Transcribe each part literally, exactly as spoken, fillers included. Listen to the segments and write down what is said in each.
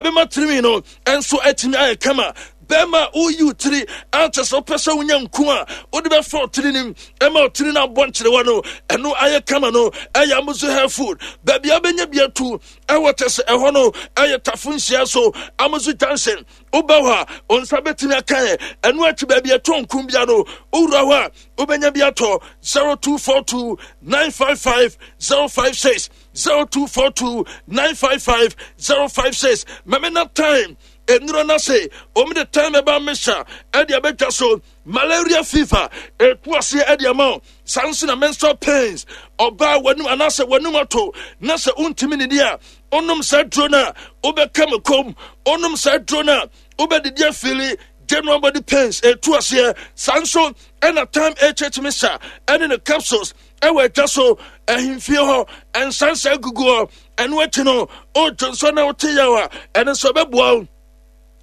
Ɛbɛma tirinwi no nso atumi ayɛ kama. Bɛrima a woyi wo tiri ankyɛ sɛ wopɛ sɛ wonya nku a wode bɛfa wo tiri nim ɛma wo tiri no abɔ nkyerewa no ɛno ayɛ kama no ɛyɛ Amuzu Hair Food. Baabi a wobɛnya bi atu ɛwɔ kyɛ sɛ ɛhɔ no ɛyɛ Tafo nhyia so, Amuzu Junction. Woba hɔ a, wo nsa bɛtumi aka ɛ. Ɛno akyi baabi ɛtɔ nku bia no, wowura hɔ a wobɛnya bi atɔ. zero two four two nine five five zero five six, zero two four two nine five five zero five six. Mɛmɛ time nnuro no se wɔn de time ɛba mesa ɛde abɛtwa so. Malaria, fever ɛtu aseɛ ɛde ama wo. Saa nso na menstrual pains, ɔbaa w'anum anaasɛ w'anum ato na sɛ wontumi nidi a, wonom saa duro no a wobɛka me kom. Wonom saa duro no a wobɛdidi afili. General body pains ɛtu aseɛ. Saa nso ɛna Time H H mixture ɛne ne capsules ɛwɔ adwa so ahemfie hɔ, nsansa gugu hɔ. Ɛno akyi no, wodwo nso na wote yaw a, ɛno nso ɛbɛboa wo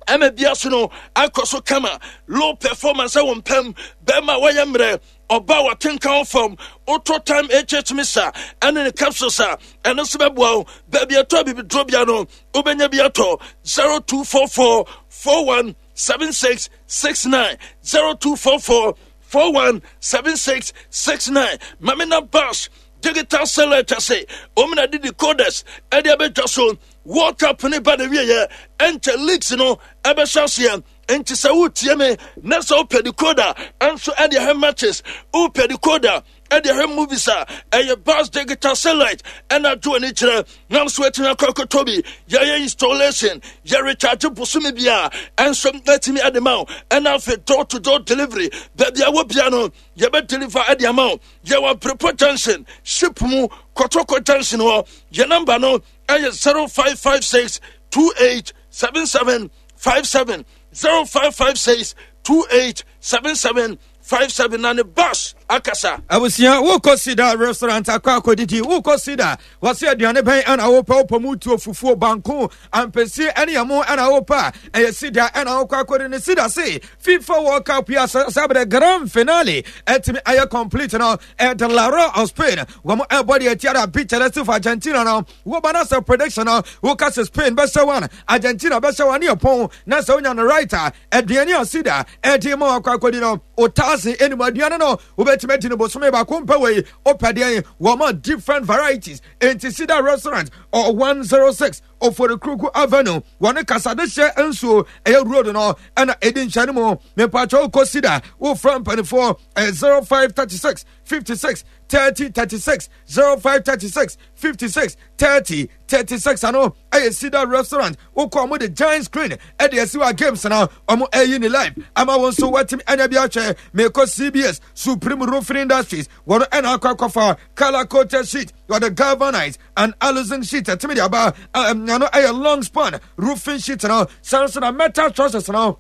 ɛma bia so no akɔ so kama. Low performance ɛwɔ mpam, bɛrima a wɔyɛ mmerɛ, ɔba a watenka wo fam, wotɔ Time H H mixture ɛne ne capsules a, ɛno nso bɛboa wo. Baabi ɛtɔ abibiduro bia no, wobɛnya bi atɔ. zero two four four four one seven six six nine, zero two four four four one seven six six nine. Mamina Bash Digital Satellite ase ɔmuna de decoders ɛde abɛdwa so. World Cup ne ba na wieɛ, ɛnkyɛ leagues no ɛbɛhyɛ aseɛ. Nti sɛ wotie me na sɛ wopɛ decoder ɛnso ɛde ɛhwɛ matches, wopɛ decoder ɛde ɛhwɛ movies a, ɛyɛ Bas Digital Satellite ɛna adwo ani kyerɛ nam so atumi akɔ akɔtɔ bi. Yɛyɛ installation, yɛ recharge bosome bi a ɛnso atumi ɛde ma wo. Ɛna afei door to door delivery, baabi a wɔ bia no yɛbɛ deliver ɛde ama wo. Yɛwɔ Aprepo Junction, ship mu Kɔtɔkɔ Junction hɔ. Yɛ number no ɛyɛ zero five five six two eight seven seven five seven, zero five five six two eight seven seven five seven. Na ne bus akasa. Abusua, wokɔ Sida Restaurant akɔ akɔdidi. Wokɔ Sida, wɔse aduane bɛn ɛna wopɛ? Wopɛ mu tuo, fufuo, banko, ampesie ɛne ɛmo ɛna wopɛ a, ɛyɛ Sida ɛna wokɔ akɔdi ne. Sida se FIFA World Cup yi sɛ bɛdɛ grand finale ɛtumi ayɛ complete no, ɛde La Roja of Spain wɔn ɛbɔ deɛ ɛtia da Albiceleste for Argentina no. Woba no sɛ prediction no, woka sɛ Spain bɛhyɛ one, Argentina bɛhyɛ one ne ɛpɔn na sɛ wonya no right a, aduane a Sida ɛde ma wakɔ akɔdi no, o thousand anim aduane no wobɛtumi adi no bosome baako mpɛ. Wei wopɛ deɛn? Wɔma different varieties. Enti Sida Restaurant ɔ one oh six Oforikruku Avenue, wɔne Kasadehyɛ nsuo ɛyɛ road no ɛna ɛdi nhyɛne mu. Mepakyɛ, wokɔ Sida, wofrɛ mpanifoɔ ɛyɛ zero five three six fifty-six thirty thirty-six, zero five three six fifty-six thirty thirty-six. Ano ɛyɛ Sida Restaurant. Wokɔ, ɔmo de giant screen ɛde asi wa games na ɔmo ɛyi ne live ama wɔn nso wɔatumi anya bi ahwɛ. Mekɔ C B S Supreme Roofing Industries, wɔn ɛna akɔ akɔfa color coated sheet, wɔde galvanized and aluzinc sheet ɛtumi de aba. Ɛno ɛyɛ long span roofing sheet no. San so na metal trusses no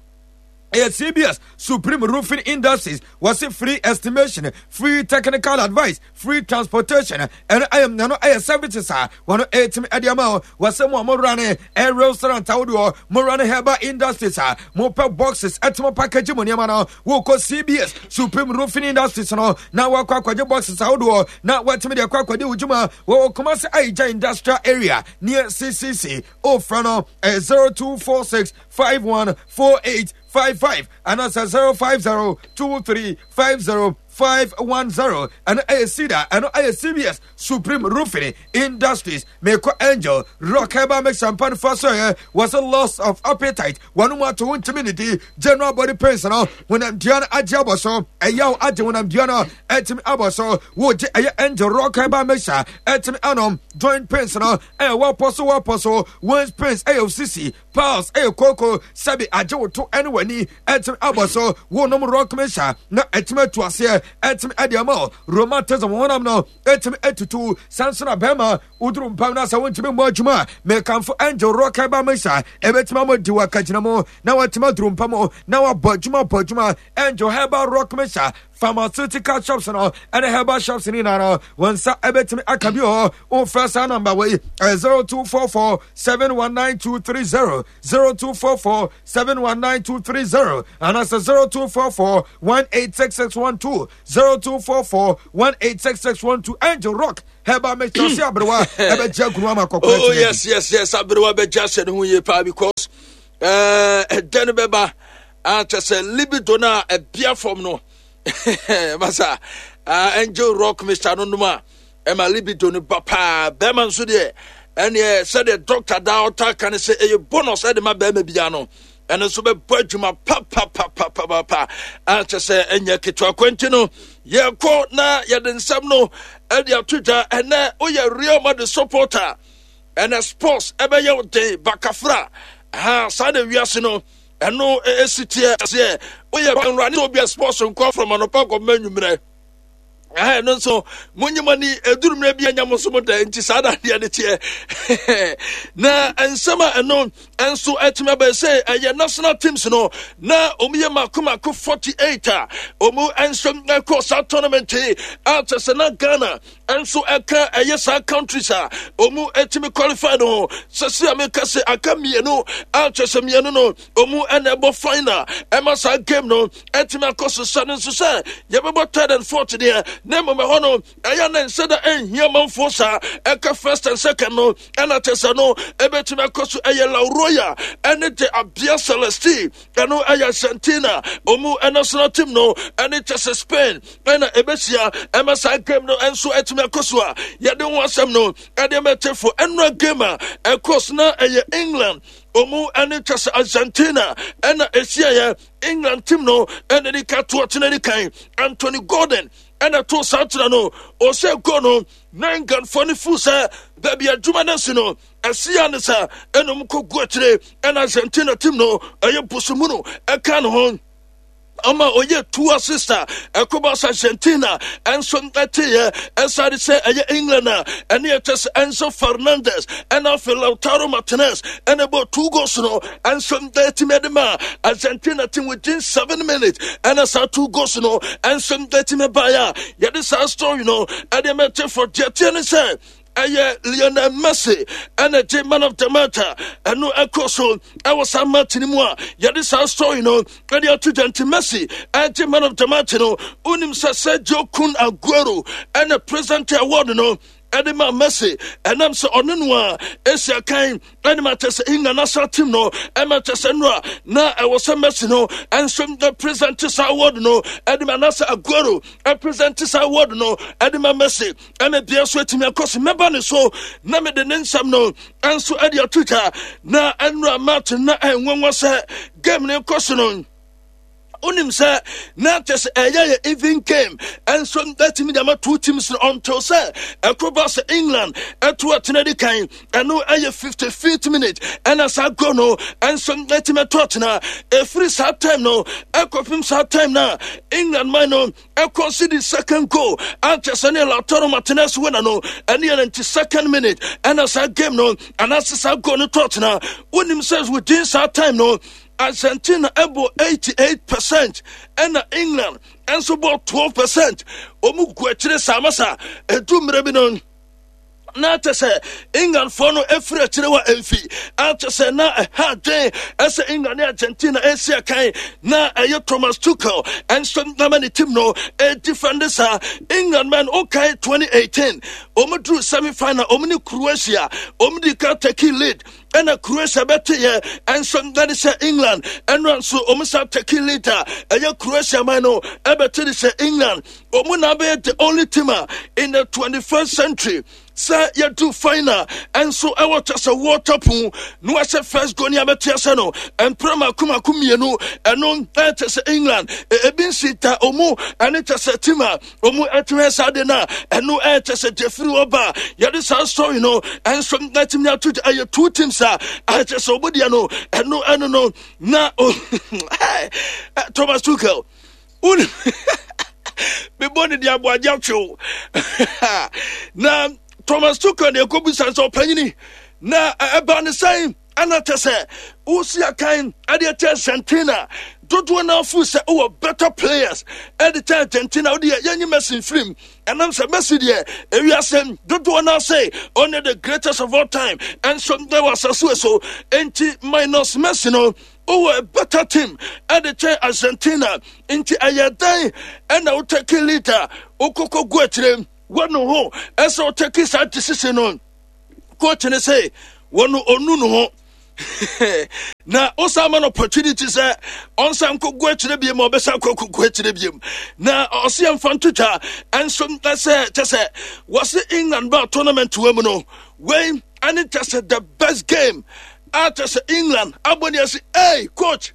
ɛyɛ C B S Supreme Roofing Industries. Wɔse free estimation, free technical advice, free transportation. Ɛno ɛyɛ ɛno ɛyɛ services a wɔn ɛtumi ɛde ama wo. Wɔsɛ mo a mo wura ne ɛ restaurant ahodoɔ, mo wura ne herbal industries a mo pɛ boxes ɛtumi package mo nneɛma no, wokɔ C B S Supreme Roofing Industries no na wakɔ akɔgye boxes ahodoɔ na watumi de akɔ akɔde wo dwuma. Wɔwɔ Kumasi Ayigya Industrial Area near C C C. Ofra no ɛyɛ zero two four six five one four eight five five anaasɛ zero five zero two three five zero five one zero. Ɛno ɛyɛ Cedar, ɛno ɛyɛ C B S Supreme Roofing Industries. Mekɔ Angel Rock Herbal Mix Champan fa so yɛ wɔsɛ loss of appetite, wɔn mu ato ntumi ne di, general body pains no, honamdua no agye abɔ so, ɛyaw agye honamdua no ɛtumi abɔ so, wogye ɛyɛ Angel Rock Herbal Mixture ɛtumi anom. Joint pains no ɛyɛ wɔpɔ so wɔpɔ so, waist pains ɛyɛ osisi, piles ɛyɛ koko, sɛbi agye wo to ɛne w'ani ɛtumi abɔ so, wonom Rock Mixture na ɛtumi atu aseɛ ɛtumi ɛde ama wo. Rheumatism, honam no ɛtumi atutu. Sanso na bɛrima woduru mpam no sɛ wontumi mmɔ adwuma a, mekamfo Angel Rock Herbal Mixture, ɛbɛtumi ama di wɔ akagyina mu na watumi aduru mpam na wabɔ adwuma bɔ adwuma. Angel Herbal Rock Mixture Pharmaceutical shops no ɛne herbal shops no nyinaa no, wɔn nsa ɛbɛtumi aka bi wɔ hɔ. Wofrɛ saa namba wei, ɛyɛ zero two four four seven one nine two three zero, zero two four four seven one nine two three zero, anaasɛ zero two four four one eight six six one two, zero two four four one eight six six one two. Angel Rock Herbal Mixture sɛ aberewa ɛbɛgye agunu ama kɔkɔɔ. Oh yes, yes, yes, aberewa bɛgye ahyɛ ne ho yie paa because ɛdɛ no bɛba akyɛ sɛ libido no a ɛbea fam no masa. Angel Rock Mixture no nom a, ɛma libido no ba paa. Bɛrima nso deɛ, ɛneɛ sɛdeɛ doctor daa ɔta ka no sɛ ɛyɛ bonus ɛde ma bɛrima bia no, ɛno nso bɛbɔ adwuma papapapapapa akyɛ sɛ ɛnyɛ ketewa. Kwanti no yɛkɔ na yɛde nsɛm no ɛde ato dwa. Ɛnɛ woyɛ Real Madrid supporter, ɛnɛ sports ɛbɛyɛ wo den bakafra ha. Saa na wiase no ɛno ɛsi teɛ seɛ. Woyɛ nwura ne obi a sports nkɔ from anɔpa kɔma anwummerɛ, ɛno nso monye mo ani ɛduru mmerɛ bi anya mo so mo da nti saa na adeɛ no teɛ. Na nsɛm a ɛno nso atumi abɛyɛ sɛ ɛyɛ national teams no na ɔmu yɛ mako mako forty-eight a ɔmu nso ɛkɔ saa tournament yi a kyɛ sɛ na Ghana nso ɛka ɛyɛ saa countries a ɔmu atumi qualify no ho. Sɛsi a meka sɛ aka mmienu a kyɛ sɛ mmienu no ɔmu ɛna ɛbɔ final ɛma saa game no ɛtumi akɔ so. Sɛ no nso sɛ yɛbɛbɔ third and fourth deɛ, na mmom ɛhɔ no ɛyɛ ne nsɛ da ɛnhia manfoɔ saa. Ɛka first and second no ɛna kyɛ sɛ no ɛbɛtumi akɔ so. Ɛyɛ La Roya ɛne de Albiceleste, ɛno ɛyɛ Argentina ɔmu national team no ɛne kyɛ sɛ Spain ɛna ɛbɛhyia ɛma saa game no nso ɛtumi akɔ so a yɛde ho asɛm no ɛde mɛtefo. Ɛnora game a ɛkɔ so na ɛyɛ England ɔmu ɛne kyɛ sɛ Argentina ɛna ɛhyiaeɛ. England team no ɛna de ka to ɔtena di kan, Anthony Gordon ɛna to saa tena no ɔhyɛ goal no na Englandfoɔ no fu sɛ baabi adwuma no asi no ɛsia ne sɛ ɛna ɔmu kɔ gu akyire, ɛna Argentina team no ɛyɛ bosomu no ɛka ne ho ama ɔyɛ two assist a ɛkɔba sɛ Argentina ɛnso ɛteyɛ. Ɛsade sɛ ɛyɛ England a ɛne ɛkyɛ sɛ Enzo Fernandez ɛna afei Lautaro Martinez ɛna ɛbɔ two goals no ɛnso ɛtumi ɛde ma Argentina team within seven minutes, ɛna saa two goals no ɛnso ɛtumi baeɛ a yɛde saa story no ɛde mɛte for. Deɛ teɛ ne sɛ ɛyɛ Lionel Messi ɛna gye man of the match a ɛno ɛkɔ so ɛwɔ saa match no mu a yɛde saa story no ɛde ato dwa. Nti Messi ɛgye man of the match no, wonim sɛ Sergio Kun Aguero ɛna present award no ɛde ma Messi, ɛnam sɛ ɔno no a ɛsi akan ɛne ma kyɛ sɛ England national team no ɛma kyɛ sɛ no a na ɛwɔ sɛ Messi no ɛnso present saa award no ɛde ma, anaasɛ Aguero ɛpresent saa award no ɛde ma Messi. Ɛna bia so atumi akɔ so mɛba ne so na mede ne nsɛm no ɛnso ɛde ato dwa. Na ɛnora match na ɛnwanwa sɛ game ne kɔ so no, wonim sɛ na kyɛ sɛ ɛyɛ yɛ even game ɛnso ɛtumi de ama two teams no until sɛ ɛkɔba sɛ England ɛto atena di kan. Ɛno ɛyɛ fifty-fifth minute ɛna saa goal no ɛnso ɛtumi ɛto atena. Ɛfiri saa time no ɛkɔpem saa time na England man no ɛkɔsi second goal ankyɛ sɛ ne Lautaro Martinez winner no ɛne yɛ ninety second minute ɛna saa game no anaasɛ saa goal no to atena. Wonim sɛ within saa time no Argentina ɛbɔ eighty-eight percent ɛna England ɛnso bɔ twelve percent. Ɔmu gu akyire saa masa ɛdu mmerɛ bi no na kyɛ sɛ Englandfoɔ no ɛfiri akyire wa ɛmfi akyɛ sɛ na ɛha adwen ɛsɛ England ne Argentina ɛsi akan na ɛyɛ Thomas Tuchel ɛnso nama ne team no ɛdefend saa. England man, wokae twenty eighteen ɔmu duru semi final, ɔmu ne Croatia, ɔmu di ka take lead ɛna Croatia bɛteyɛ ɛnso ɛde sɛ England. Ɛno nso ɔmu sa take lead a ɛyɛ Croatia man no ɛbɛte de sɛ England ɔmu na abɛyɛ the only team a in the twenty-first century sɛ yɛdu final ɛnso ɛwɔ kyɛ sɛ World Cup na wahyɛ first goal ne abɛte asɛ no mpere mako mako mmienu. Ɛno ɛkyɛ sɛ England ebi nsi ta ɔmu ɛne kyɛ sɛ team a ɔmu ɛtumi saa de no a ɛno ɛkyɛ sɛ gyefiri hɔ ba yɛde saa story no ɛnso ɛtumi ato. Ɛyɛ two teams a ɛkyɛ sɛ ɔmu deɛ no ɛno ɛno no na Thomas Tuchel mebɔ ne de aboagye atwew na Thomas Tuchel ne ɛkɔbusa sɛ ɔpanyini na ɛba ne sɛn ɛna kyɛ sɛ wosi akan ɛde ɛkyɛ Argentina Dodoɔ no afo sɛ wowɔ better players ɛde kyɛ Argentina. Wode yɛ yɛnyi Messi mfirim, ɛnam sɛ Messi deɛ ewiase dodoɔ no ase ɔne the greatest of all time ɛnso ɛwɔ asase so. Enti minus Messi no, wowɔ a better team ɛde kyɛn Argentina. Nti ɛyɛ dɛn ɛna wo take lead a wokɔkɔ gu akyire? Wɔno ho ɛsɛ wo take saa decision no. Coach ne sɛ wɔno ɔnu no ho na wosan ma no opportunity sɛ ɔnsan nkɔgu akyerɛ biem a, ɔbɛsan kɔ kɔgu akyerɛ biem. Na ɔse yɛmfa ntotwa ɛnso sɛ kyɛ sɛ wɔse England ba tournament wɔ mu no, wei ɛne kyɛ sɛ the best game a kyɛ sɛ England abɔ ne ase. Ei, coach,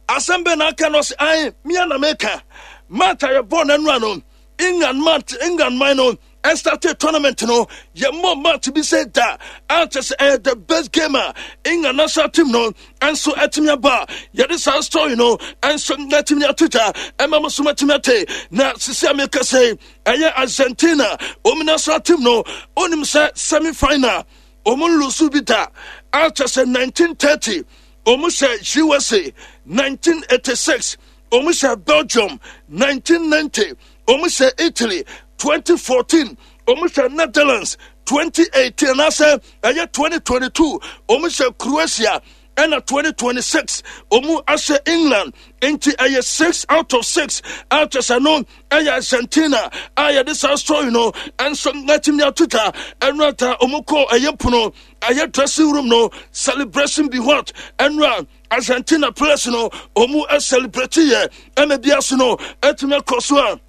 asɛm bɛ na aka no? Ɔse ae, mia na meka match a yɛbɔɔ no anura no, England match, England man no ɛ start tournament no, yɛmmɔ match bi sɛ da a kyɛ sɛ ɛyɛ the best game a England national team no ɛnso ɛtumi aba. Yɛde saa story no ɛnso ɛtumi ato gya ɛma mo so matumi ate. Na sisi a meka sɛ ɛyɛ Argentina wɔn national team no, onim sɛ semi final wɔn lose bi da a kyɛ sɛ nineteen thirty wɔn hyɛ U S A, nineteen eighty-six wɔn hyɛ Belgium, nineteen ninety wɔn hyɛ Italy, twenty fourteen wɔn hyɛ Netherlands, twenty eighteen anaasɛ ɛyɛ twenty twenty-two wɔn hyɛ Croatia, ɛna twenty twenty-six wɔn ahyɛ England. Nti ɛyɛ six out of six a kyɛ sɛ no ɛyɛ Argentina a yɛde saa story no ɛnso n'atumi ato twa. Ɛno ata wɔn kɔ ɛyɛ pono ɛyɛ dressing room no, celebration be what? Ɛno a Argentina players no wɔn celebrate yɛ ɛna bi ase no ɛtumi akɔ so a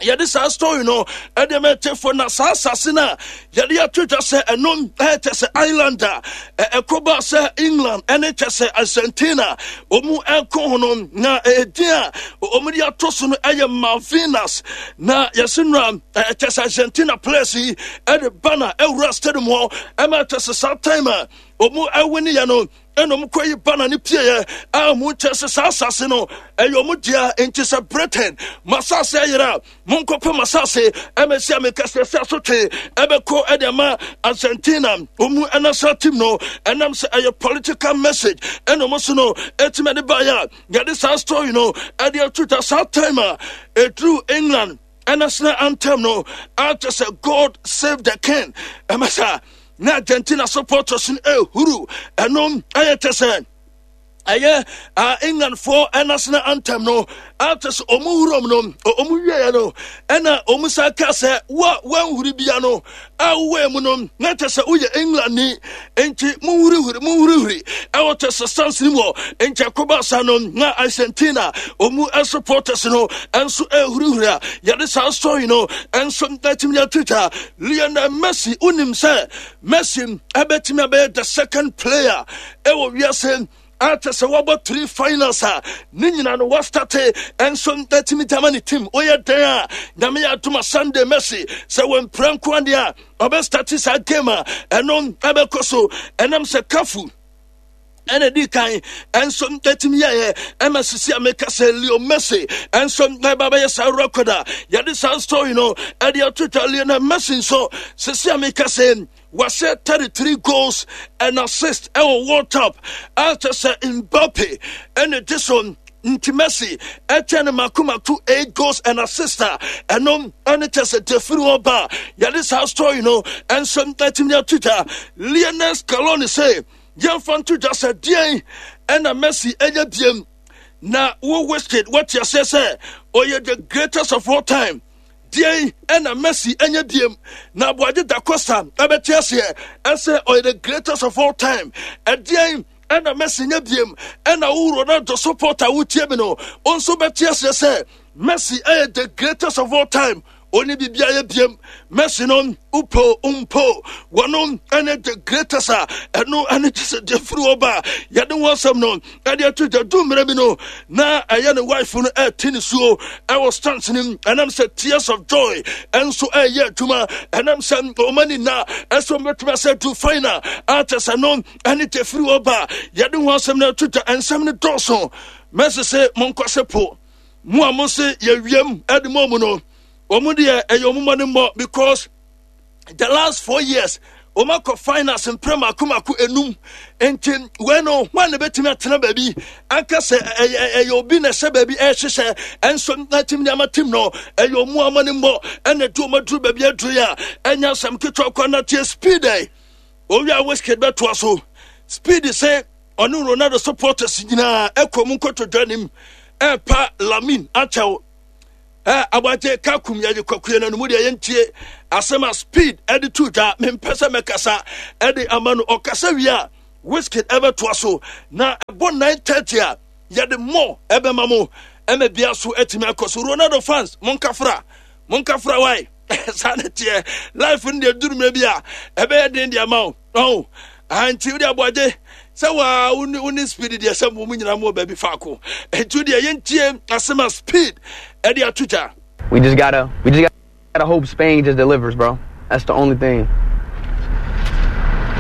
yɛde saa story no ɛde ma ɛtɛfo. Na saa asase no a yɛde ato dwa sɛ ɛno ɛkyɛ sɛ island a ɛkɔba sɛ England ɛne kyɛ sɛ Argentina ɔmu ɛkɔ ho no, na ɛdin a ɔmu de ato so no ɛyɛ Malvinas. Na yɛse no a ɛkyɛ sɛ Argentina players yi ɛde banner ɛwura stadium hɔ ɛma ɛkyɛ sɛ saa time a ɔmu ɛwin yɛ no, ɛna ɔmo kɔ yi banner ne pieɛ a ɔmo kyɛ sɛ saa asase no ɛyɛ ɔmo dea. Nti sɛ Britain mo asase ayerɛ a, monkɔpɛ mo asase. Ɛmɛsi a meka sɛ sɛ asotwe ɛbɛkɔ ɛde ama Argentina ɔmu ɛnational team no, ɛnam sɛ ɛyɛ political message ɛna ɔmo so no ɛtumi ɛde baeɛ a yɛde saa story no ɛde ato dwa. Saa time a ɛduru England national anthem no akyɛ sɛ "God Save the King" ɛmɛ saa na Argentina supporters no ehuru. Ɛno ɛyɛ kyɛ sɛ ɛyɛ uh, Englandfoɔ national anthem no akyɛ sɛ ɔmo wurom no, ɔmo wieɛ no, ɛna ɔmo sa ka sɛ wo a woanhuri bia no a wowɔ mu no na kyɛ sɛ woyɛ England ni, nti monhurihuri, monhurihuri ɛwɔ kyɛ sɛ stands no mu hɔ. Nti ɛkɔba sa no na Argentina ɔmu supporters no ɛnso ɛhurihuri a yɛde saa story no ɛnso atumi atwitwa. Lionel Messi, wonim sɛ Messi ɛbɛtumi abɛyɛ the second player ɛwɔ wiase akyɛ sɛ wɔbɔ three finals a ne nyina no wɔ start ɛnso atumi gyama ne team. Woyɛ dɛn a, Nyame yɛ adoma, Sunday Messi sɛ wɔmpira nko adeɛ a ɔbɛ start saa game a ɛno ɛbɛkɔ so, ɛnam sɛ Cafu ɛna di kan ɛnso ɛtumi yɛyɛ ɛma sisi a meka sɛ Leo Messi ɛnso ɛba bɛyɛ saa record a yɛde saa story no ɛde ato twa. Lionel Messi nso, sisi a meka sɛ wahyɛ thirty-three goals and assist ɛwɔ World Cup a kyɛ sɛ Mbappe ɛna di so. Nti Messi ɛkyɛ no mako mako eight goals and assist a ɛno ɛne kyɛ sɛ defiri hɔ ba a yɛde saa story no ɛnso ɛtumi ato dwa. Lionel Scaloni sɛ yɛmfa nto dwa sɛ deɛn ɛna Messi ɛyɛ biem na wo Wizkid wɔte aseɛ sɛ ɔyɛ the greatest of all time? Deɛn ɛna Messi ɛnyɛ biem na Aboagye da Costa ɛbɛte aseɛ ɛsɛ ɔyɛ the greatest of all time? Ɛdeɛn ɛna Messi nyɛ biem ɛna wo Ronaldo supporter wotie mi no wo nso bɛte aseɛ sɛ Messi ɛyɛ the greatest of all time? Oni biribi ayɛ biem. Messi no, upo mpo wɔno ɛne the greatest a ɛno ɛne kyɛ sɛ deɛ firi hɔ ba a yɛde wɔn asɛm no ɛde ato gya. Du mmerɛ bi no na ɛyɛ ne wife no ɛte ne suo ɛwɔ stands no mu, ɛnam sɛ tears of joy ɛnso ɛyɛ adwuma, ɛnam sɛ ɔma ni na ɛsɛ ɔmɛtumi asɛ du final a kyɛ sɛ no ɛne deɛ firi hɔ ba a yɛde wɔn asɛm no ato gya. Ɛnsɛm no dɔɔso. Messi sɛ monkɔ se po mo a mo se yɛwiem ɛde mo mu no, wɔn deɛ ɛyɛ wɔn mmɔ ne mmɔ because the last four years Wɔn akɔ finals mprɛ mako mako enum. Nti wei no, hwan na ebetumi atena baabi anka sɛ ɛyɛ ɛyɛ obi na ɛhyɛ baabi ɛrehyehyɛ ɛnso na team nneɛma team no ɛyɛ ɔmo ama ne mmɔ ɛna ɛde ɔmo aduru baabi aduru yi a ɛnyɛ asɛm ketewa kɔ na tie speed ɛ owia Wizkid bɛtoa so. Speed sɛ ɔne Ronaldo supporters nyinaa ɛkɔ mu nkotodwe anim ɛrepa Lamine akyɛw. Ɛ abagye kakum yɛde kwakuo no mu deɛ yɛntie asɛm a Speed ɛde to dwa. Mempɛ sɛ mɛkasa ɛde ama no, ɔkasa wie a Wizkid ɛbɛtoa so na ɛbɔ nine thirty a yɛde mmɔ ɛbɛma mo ɛma bia so atumi akɔ so. Ronaldo fans, monkafra, monkafra wae. Saa ne teɛ, life no deɛ duru mmerɛ bi a ɛbɛyɛ den deɛ ama wo ɔho. Nti wode aboagye sɛ waa wo ne Speed deɛ sɛ mo mu nyinaa mo wɔ baabi faako, nti wodeɛ yɛntie asɛm a Speed ɛde ato dwa. We just gotta, we just gotta hope Spain just delivers, bro. That's the only thing.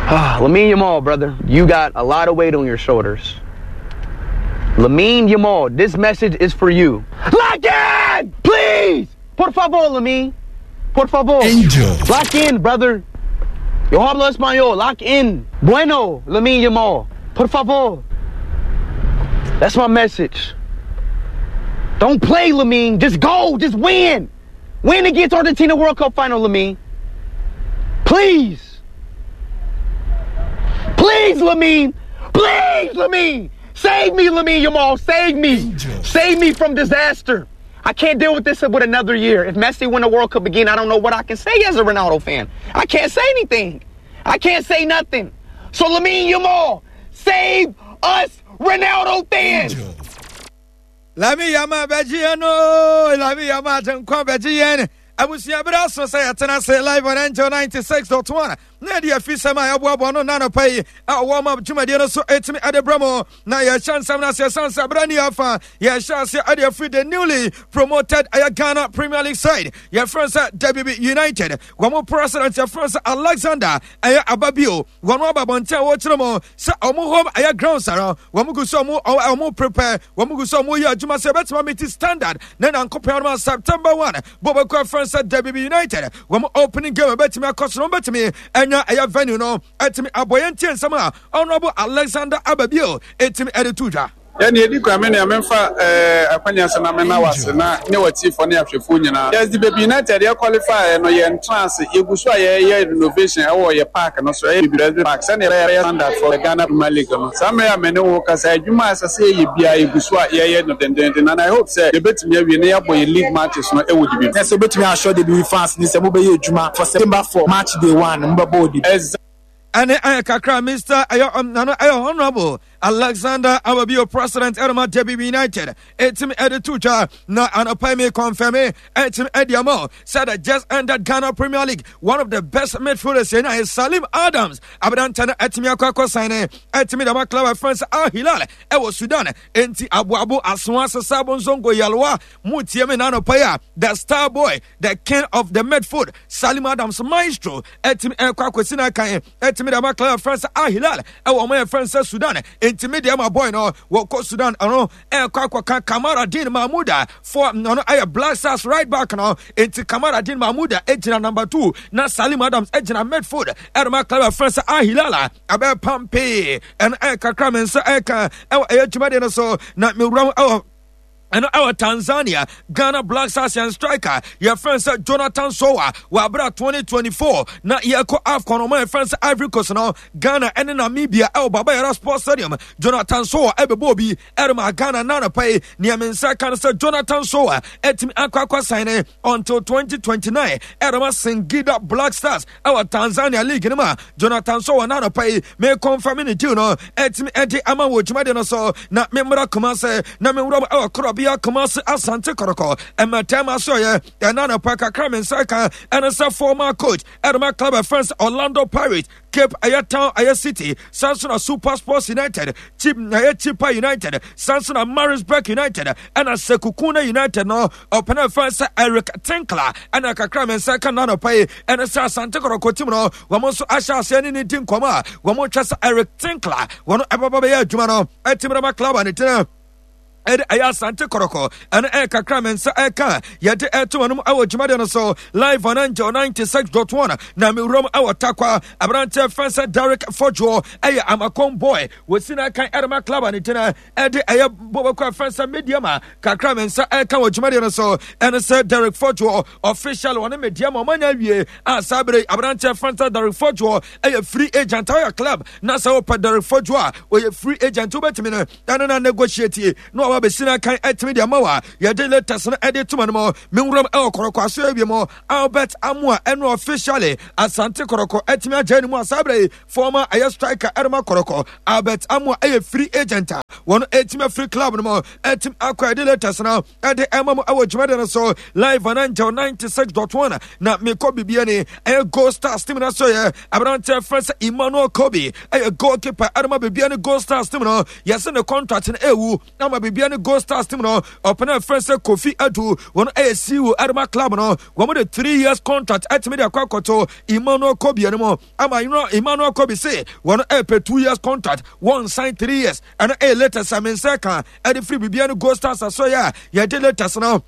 Lamine Yamal, brother, you got a lot of weight on your shoulders. Lamine Yamal, this message is for you. Lock in! Please! Por favor, Lamine. Por favor. Angel. Lock in, brother. Yo hablo español. Lock in. Bueno, Lamine Yamal. Por favor. That's my message. Don't play, Lamine. Just go. Just win. Win against Argentina World Cup final, Lamine. Please. Please, Lamine. Please, Lamine. Save me, Lamine Yamal. Save me. Angel. Save me from disaster. I can't deal with this with another year. If Messi win the World Cup again, I don't know what I can say as a Ronaldo fan. I can't say anything. I can't say nothing. So Lamine Yamal, save us Ronaldo fans. Angel. Lamine Yamal bɛgye yɛn no, Lamine Yamal agye nkwa bɛgye yɛn. Abusua, bere aso sɛ yɛtena ase live on Angel ninety-six point one na yɛde afi sɛm a yɛboaboa no nanɔpa yi a ɔwɔ ma dwumadie no so ɛtumi ɛde brɛ mu na yɛhyɛ nsɛm no ase. Ɛsiane sɛ berɛ ne yɛafa yɛhyɛ ase ɛde afiri the newly promoted ɛyɛ Ghana Premier League side yɛfrɛ sɛ Debibi United, wɔn mo president yɛfrɛ sɛ Alexander ɛyɛ Ababio, wɔn aba abɔnten a wɔkyerɛ mu sɛ ɔmo home ɛyɛ grounds no, wɔn gu so ɔmo ɔmo prepare, wɔn gu so ɔmo yɛ adwuma sɛ ɛbɛtuma meet standard na Nyankopɔn adom a September one bɔbɔkɔ ɛfrɛ sɛ Debibi United wɔn opening game ɛbɛtumi akɔ so no, wɔn bɛtumi ɛnya ɛyɛ venue no ɛtumi abɔ. Yɛn tie nsɛm a Honourable Alexander Ababio ɛtumi ɛde to dwa. Yɛne yɛdi kwa me nea memfa eh, akwanya sɛ na mena wase na ne watifoɔ ne ahwɛfoɔ nyinaa. Yes, Debibi United yɛ qualify no, yɛntena ase. Yɛgu so a yɛyɛ renovation ɛwɔ yɛ park no so, ɛyɛ Bibi Park, sɛnea yɛbɛyɛ standard for the Ghana Premier League no. Saa mmerɛ a me ne wo kasa, adwuma a ɛsɛ sɛ yɛyɛ biara yɛgu so a yɛyɛ no dendenden, and I hope sɛ yɛbɛtumi awie na yɛabɔ yɛ league matches no ɛwɔ Debibi. Na sɛ wobɛtumi ahyɛ Debibi fans ne sɛ mobɛyɛ adwuma for September four, match day one mobɛbɔ wɔ Debibi. Ɛne ɛyɛ kakra Mister ɛyɛ ɔm nano ɛyɛ Honourable Alexander Ababio, president ɛrema Debibi United, ɛtumi ɛde to dwa. Na anɔpa mi confirm ɛtumi ɛde ama sɛ the just ended Ghana Premier League, one of the best midfielders yɛn ayɛ Salim Adams aberante no ɛtumi akɔ akɔ sign ne ɛtumi dama club ɛfrɛ sɛ Al Hilal ɛwɔ Sudan. Enti aboabo asoa sesa bonzongo yalwa mu tie me na anɔpa yi a the star boy, the king of the midfield, Salim Adams maestro, ɛtumi ɛkɔ akɔsi no akan ɛtumi de ama club ɛfrɛ sɛ Al Hilal ɛwɔ ɔmo yɛ sɛ Sudan. Enti me deɛ ma boy no wɔkɔ Sudan, ɔno ɛkɔ akɔka Kamaradin Mahmuda for ɔno ɛyɛ Black Stars right back no. Enti Kamaradin Mahmuda egyina number two na Salim Adams egyina midfield ɛrema club ɛfrɛ sɛ Al Hilal a ɛbɛyɛ pampee. Ɛno ɛyɛ kakra me nsa ɛka ɛwɔ ɛyɛ dwumadie no so na mewura ɛwɔ ɛno ɛwɔ Tanzania. Ghana Black Stars yɛn striker yɛfrɛ sɛ Jonathan Sowa wɔ abera twenty twenty-four na yɛkɔ AFCON, ɔma yɛfrɛ sɛ Ivory Coast no, Ghana ɛne Namibia ɛwɔ Baba Yara Sports Stadium. Jonathan Sowa ɛbɛbɔ obi ɛrema Ghana. Nanapa yi nea me nsa ka no sɛ Jonathan Sowa ɛtumi akɔ akɔ sign ne until twenty twenty-nine ɛrema Singida Black Stars ɛwɔ Tanzania league no mu a Jonathan Sowa nanapa yi me confirm ne deal no ɛtumi ɛde ama wɔ dwumadi no so. Na memmra Kumase na mewura mu ɛwɔ korɔbea Kumase Asante Kɔtɔkɔ ɛmɛtɛm aso yɛ ɛna anɔpa kakra me nsa ka ɛne sɛ former coach ɛrema club ɛfrɛ Orlando Pirates, Cape ɛyɛ Town ɛyɛ City, sanso Super Sports United, Chip ɛyɛ Chipa United, sanso na Maritzburg United ɛna Sekhukhune United no, ɔpɛnɛ fɛn sɛ Eric Tinkler. Ɛna kakra me nsa ka nanɔpa yi ɛne sɛ Asante Kɔtɔkɔ team no, wɔn nso ahyɛ aseɛ ne ne di nkɔmɔ a wɔn twɛ sɛ Eric Tinkler wɔn ɛbɛba bɛyɛ adwuma no ɛtumi dɛm club a ne tena Ɛde ɛyɛ Asante Kɔtɔkɔ. Ɛno ɛyɛ kakra me nsa ɛka yɛde ɛto wɔn ɛwɔ dwumadie no so live on Angel ninety-six point one. Na mewuram ɛwɔ Takwa, aberanteɛ fɛn sɛ Derek Fɔdwoɔ, ɛyɛ Amakon boy, wɔsi no akan ɛrema club a ne gyina ɛde ɛyɛ bɔbɔkɔ ɛfɛn sɛ Medeama. Kakra me nsa ɛka wɔ dwumadie no so ɛne sɛ Derek Fɔdwoɔ official wɔne Medeama ɔmanya awie a saa bere aberanteɛ fɛn sɛ Derek Fɔdwoɔ ɛyɛ free agent. Ɔyɛ club na sɛ wopɛ Derek Fɔdwoɔ a, ɔyɛ free agent, wobɛtumi no ɛno na negotiate na waba bɛsi no akan atumi de ama wa. Yɛde latest no ɛde toma no mu. Menwuram ɛwɔ Kɔtɔkɔ aso awie mu. Albert Amoa ɛno officially Asante Kɔtɔkɔ atumi agya ne mu a saa berɛ yi former ɛyɛ striker ɛrema Kɔtɔkɔ, Albert Amoa, ɛyɛ free agent a wɔn ɛtumi afiri club no mu ɛtumi akɔ. Ɛde latest no ɛde ɛma mu ɛwɔ dwumadi no so live on Angel ninety-six point one. Na mekɔ bibia ni ɛyɛ Gold Stars team no so yɛ aberanteɛ fɛ sɛ Emmanuel Kobe, ɛyɛ goalkeeper ɛrema bibia ne Gold Stars team no. Yɛsɛ ne contract no ɛwu ama bibia ne Gold Stars team no. Ɔpɛnɛ fɛ sɛ Kofi Adu, wɔn ɛyɛ C E O ɛrema club no, wɔn de three years contract ɛtumi de akɔ akɔto Emmanuel Kobe no mu ama Emmanuel Kobe se wɔn ɛpɛ two years contract, wɔn sign three years. Ɛno ɛyɛ latest a me nsa ka ɛde firi bibia ne Gold Stars asɔyɛ a yɛde latest no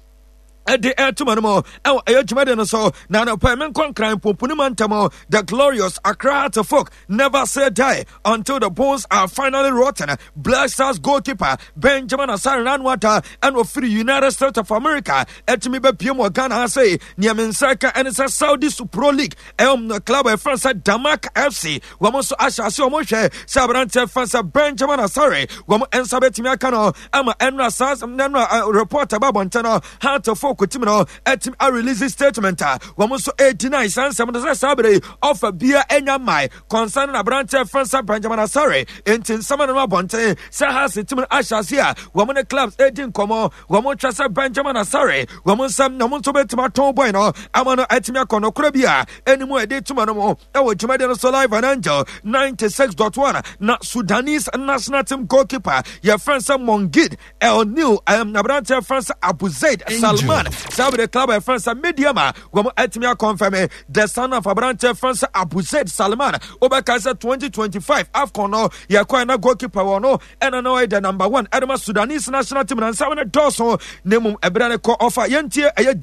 ɛde ɛtoma no mu ɛwɔ ɛyɛ dwumadi no so. Na anɔpɛ menkɔ Nkran pomponi ma ntam. The glorious Accra Hearts of Oak never say die until the bones are finally rotten. Black Stars goalkeeper Benjamin Asare Nanwata ɛna ofiri United States of America ɛtumi bɛpie mu wɔ Ghana ha sɛ nea me nsa ka ɛne sɛ Saudi Super League ɛwɔ club ɛfrɛ sɛ Damac F C, wɔn nso ahyɛ ase wɔn hwɛ sɛ aberanteɛ fɛn sɛ Benjamin Asare wɔn nsa bɛtumi aka no ama ɛnura saa ɛnura report ɛba abɔnten no, Hearts of Oak team no ɛtumi a release statement a wɔn nso ɛgyina saa nsɛm no sɛ saa bere yi ɔfa bia ɛnya mmae concerning aberanteɛ fɛn sɛ Benjamin Asare. Nti nsɛm no abɔnten sɛ Hearts team no ahyɛ ase a wɔn ne clubs ɛdi nkɔmɔ, wɔn twɛ sɛ Benjamin Asare wɔn nsɛm na wɔn nso bɛtumi atɔn boy no ama no ɛtumi akɔ. Nokora bi a ɛnimu ɛde tuma no mu ɛwɔ dwumadie no so live on Angel ninety-six point one. Na Sudanese national team goalkeeper yɛfrɛ sɛ Mongid El Nil, um, aberanteɛ frɛ sɛ Abu Zaid Salman, saa bere club a yɛfrɛ sɛ Medeama wɔn atumi a confirm the son of aberanteɛ frɛ sɛ Abu Zaid Salman. Wobɛka sɛ twenty twenty-five AFCON no yɛkɔɛ na goalkeeper wɔ no ɛna na ɔyɛ the number one ɛde ma Sudanese national team. Na nsɛm no dɔɔso na mmom ɛberɛ no kɔ ɔfa yɛntie ɛyɛ